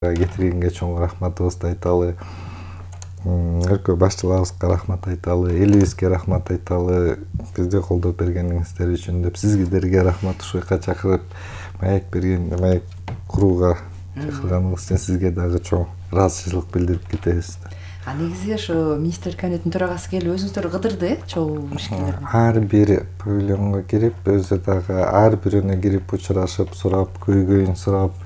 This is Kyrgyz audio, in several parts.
кетиргенге чоң рахматыбызды айталы. Өлкө башчыларыбызга рахмат айталы, элибизге рахмат айталы. Бизди колдоп бергениңиздер үчүн деп сиздерге рахмат, ушул жака чакырып маек берген, маек курууга чакырганыңыз үчүн сизге дагы чоң ыраазычылык билдирип кетебиз. Негизи ошо министрлер кабинетинин төрагасы келип өзүңүздөр кыдырды, чогуу ишкерлерди. Ар бир павильонго кирип, өзү дагы ар бирөөнө кирип учурашып, сурап, көйгөйүн сурап,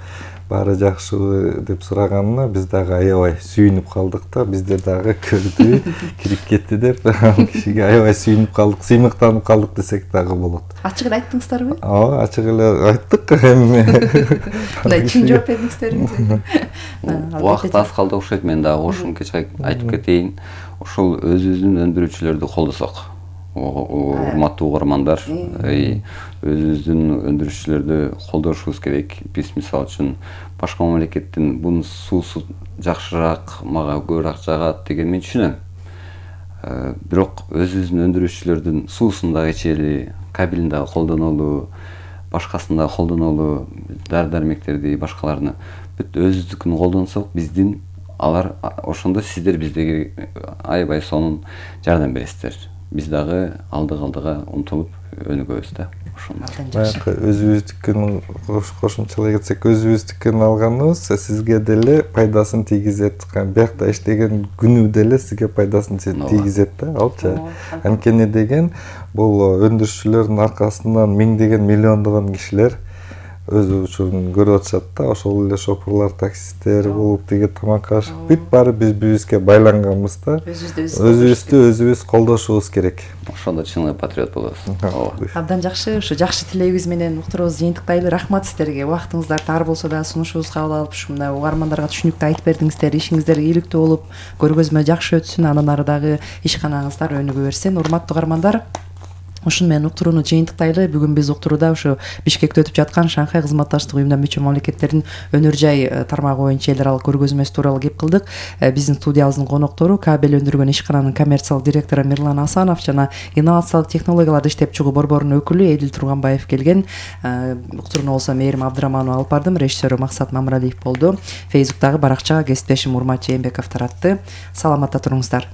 баары жакшыбы деп сураганына биз дагы аябай сүйүнүп калдык да, бизде дагы көрдү, кирип кетти деп кишиге аябай сүйүнүп калдык, сыймыктанып калдык десек дагы болот. Ачык эле айттыңыздарбы? Ооба, ачык эле айттык эми. Мындай чын жооп бердиңиздерби? Убакыт аз калды окшойт, мен дагы кошумча айтып кетейин. Ошол өзүбүздүн өндүрүүчүлөрдү колдосок. Урматтуу угармандар, өзүбүздүн өндүрүүчүлөрдү колдошубуз керек. Биз мисалы үчүн башка мамлекеттин бунун суусу жакшыраак, мага көбүрөөк жагат деген мен түшүнөм. Бирок өзүбүздүн өндүрүүчүлөрдүн суусун дагы ичели, кабелин дагы колдонолу, башкасын дагы колдонолу, дары-дармектерди, башкаларны бүт өзүбүздүкүн колдонсок, биздин алар ошондо сиздер бизге аябай сонун жардам бересиздер. Биз дагы алдыга умтулуп өнүгөбүз да. Баягы өзүбүздүкүн кошумчалай кетсек, өзүбүздүкүн алганыбыз сизге деле пайдасын тийгизет. Биякта иштеген күнү деле сизге пайдасын тийгизет да, алчы. Анткени деген бул өндүрүүчүлөрдүн аркасынан миңдеген, миллиондогон кишилер өз учурун көрүп атышат да, ошол эле шопурлар, таксисттер болуп, тиги тамак ашып, бүт баары биз-бизибизге байланганбыз да. Өзүбүздү колдошубуз керек. Ошондо чын эле патриот болобуз. Абдан жакшы, ушу жакшы тилегибиз менен уктуруубузду жыйынтыктайлы. Рахмат сиздерге. Убактыңыздарды тар болсо да сунушубузду кабыл алып, ушу мына угармандарга түшүнүктүү айтып бердиңиздер. Ишиңиздер ийгиликтүү болуп, көргөзмө жакшы өтсүн, андан ары дагы ишканаңыздар өнүгө берсин. Урматтуу угармандар, ушун менен уктурууну жыйынтыктайлы. Бүгүн биз уктурууда ушу Бишкекте өтүп жаткан Шанхай кызматташтык уюмуна мүчө мамлекеттердин өнөр жай тармагы боюнча эл аралык көргөзмөсү тууралуу кеп кылдык. Биздин студиябыздын коноктору кабель өндүргөн ишкананын коммерциялык директору Мирлан Асанов жана инновациялык технологияларды иштеп чыгуу борборунун өкүлү Эдил Турганбаев келген. Уктурууну болсо Мээрим Абдыраманова алып бардым, режиссеру Максат Мамыралиев болду. Фейсбуктагы баракчага кесиптешим Урмат Жээнбеков таратты. Саламатта туруңуздар.